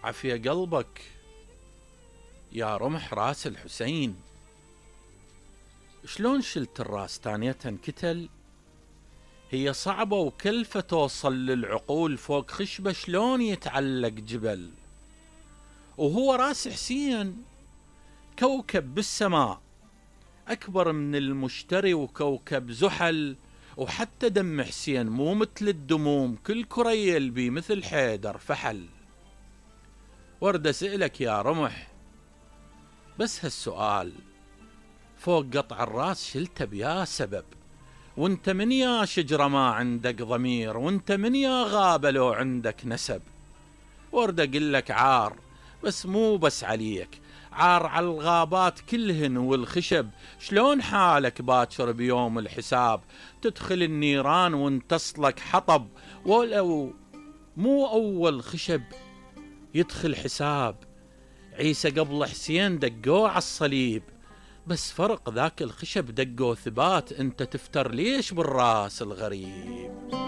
عافية قلبك يا رمح راس الحسين، شلون شلت الراس ثانية كتل؟ هي صعبة وكلفة توصل للعقول، فوق خشبة شلون يتعلق جبل؟ وهو راس حسين كوكب بالسماء أكبر من المشتري وكوكب زحل، وحتى دم حسين مو مثل الدموم، كل كريل بي مثل حيدر فحل. ورد أسألك يا رمح بس هالسؤال، فوق قطع الراس شلته بيا سبب، وانت من يا شجرة ما عندك ضمير، وانت من يا غابة لو عندك نسب؟ ورد أقلك عار بس مو بس عليك، عار على الغابات كلهن والخشب. شلون حالك باكر بيوم الحساب؟ تدخل النيران وانتصلك حطب، ولو مو أول خشب يدخل حساب. عيسى قبل حسين دقوه على الصليب، بس فرق ذاك الخشب دقوه ثبات، انت تفتر ليش بالراس الغريب؟